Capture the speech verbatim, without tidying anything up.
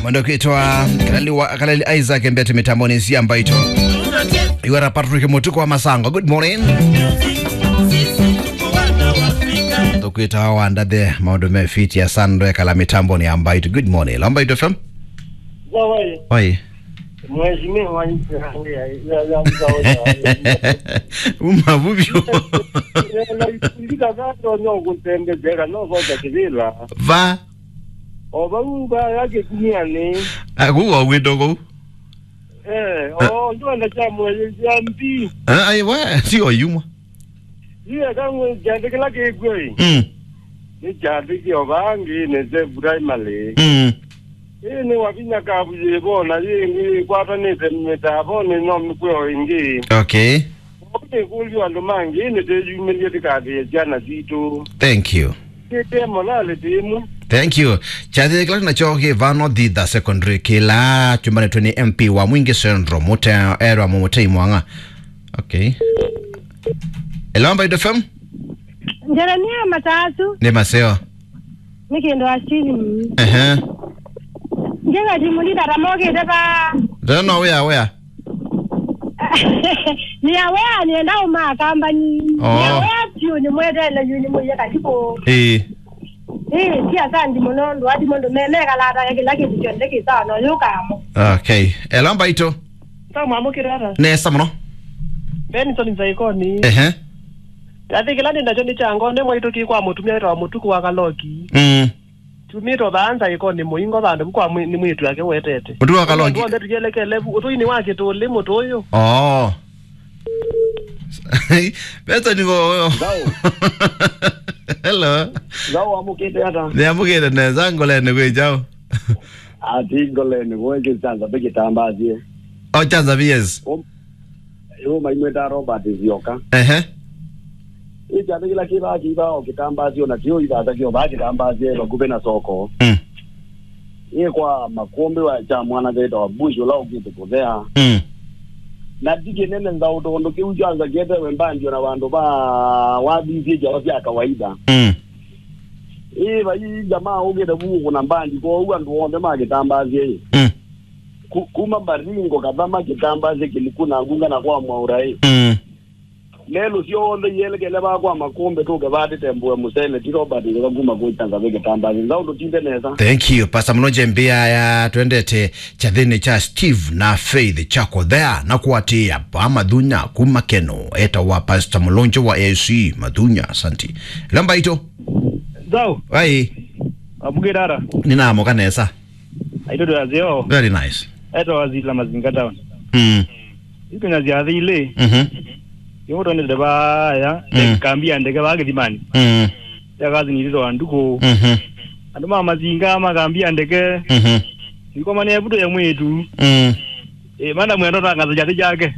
Mwendo kwitwa Kalali wa, Kalali Isaac Mbete mitamboni cia Mbaitũ. Iwara Patrick Mutuku wa Masango. Good morning. Tukwita wa ndathe maũndũ me fiti ya Sandra kala mitamboni ya Mbaitũ. Good morning. Lo Mbaitũ F M. Zawai. Oi. Mheshimiwa wa nchi ya, ya, ya, ya mzao ya. Uma vuvyo. Ndika zato no kutembezeka no kota kivila. Va. O vau va ya kĩkunia nĩ. Ah, kũu o gwĩtwa kũu. Eh, o ndwenda kya mwezi ya mbi. Ah, ai, we, si o yumwa. Iye kangwe kyathĩ kĩla kĩkw'o ĩ. Mm. Nĩ kyathĩ kĩo vaa ngĩnĩ se primary. Mm. Ĩĩ nĩ wavinya kavu yĩvo na yĩngĩ ĩkwatanĩte mĩtavonĩ no mĩkw'o ĩngĩ. Okay. Nĩkũlyo andũ mangĩ nĩtĩyumĩlye tĩkathĩe syana sitũ. Thank you. Tĩte molale tĩmwe. Thank you. Kyathĩ kĩla nakyo kĩ vano Thitha Secondary kĩla kyumbanĩtwe nĩ M P wa Mwingi Central, Mute-, erwa Mutei Mwang'a. Okay. Hello, Mbaitũ F M. Jeremia Matatu. Nĩ maseo. Nĩ kĩndũ asili. Ehe. Njega timu nditata mokĩte va. Tena no wĩa wĩa. Nĩ awea nĩenda ũmaa kambani. Oh. Nĩ awea piũ nĩ mwetele yu nĩ mũiye katibu. Ĩĩ. Ĩĩ, ti asandi mũno ndũ ati mũndũ memekalata kĩla kĩndũ kyonthe kĩsawa no yũkamo. Okay. Hello Mbaitũ. Nda mwamũkĩra ata? Nesa mũno. Benson Nzaikoni. Ehe. Kyathĩ kĩla nĩ nakyo nĩ kya ngone mwaitũ kĩ kwa mũtumia wĩtawa Mũtuku wa Kaloki. Mm. Tumĩtwe vaa Nzaikoni mũingo vandũ vu kwa mwĩ-, nĩ mwĩĩtu ake wetete. Mũtuku wa Kaloki. Andũ onthe tũyelekele vu, ũtũinĩ wa kĩtũlĩ mũtũ ũyũ. Oh. Benson ko. Nzau. Hello. Nzau wamũkĩte ata? Nĩamũkĩte nesa, ngoleni kwĩ kyaũ? Ati ngoleni kwĩ kĩsanza pekĩtambasye. Oh, chanza V S. Yu maimwĩta Robert Zioka. Ehe. Ĩ kyathĩ kĩla kĩvaa kĩvaa o kĩtambasyo na kĩo ithata kĩo vaa kĩtambasye vakuvĩ na soko. Mm. Ĩ kwa makũmbĩ wa kya mwana wĩtawa Bush ũla ũkĩte kũthea. Mm. Na ti kĩnene nzaũ tondũ kĩu kyanza kĩetewe mbandi ona vandũ va wathisye kyawa sya kawaida. Mm. Ĩ vai jamaa ũkĩte vu kũna mbandi kwoou andũ onthe ma kĩtambasye ĩ. Mm. Ku-, kuma Baringo, Kathama, Kitambasye, Kiliku na Ngunga na kwa Mwaura ĩ. Mm. Lelũ syonthe ielekele vaa kwa makũmbĩ tũke vaa tĩtembũe mũsele ti Robert Nzeka kuma kũkyanza ve Kitambasye. Nzau ndũtinde nesa. Thank you, Pastor Mũlonje Mbia ya twendete kyathĩnĩ kya Steve na Faith kya kũthea na kũatĩĩa vaa Mathunya kuma Keno. Etawa Pastor Mũlonje wa A C Mathunya. Asante. Lamba ito. Nzau. Ai. Amũkĩra ata? Nĩnamũka nesa. Aitũ twĩ aseo. Very nice. Etawa Zila Mazinga Town. Mm. Itunya sya thili. Mhm. Yũtondete vaya, mm, kambi ya ndeke vaa Kĩthimani. Mm. Ya kazi nilito wa nduku. Mhm. Andũ ma Mazinga ma kambi ya ndeke. Mhm. Nikomanĩa vuto ya mwĩtu. Mm. E, mana mwendo tangaza jati jake.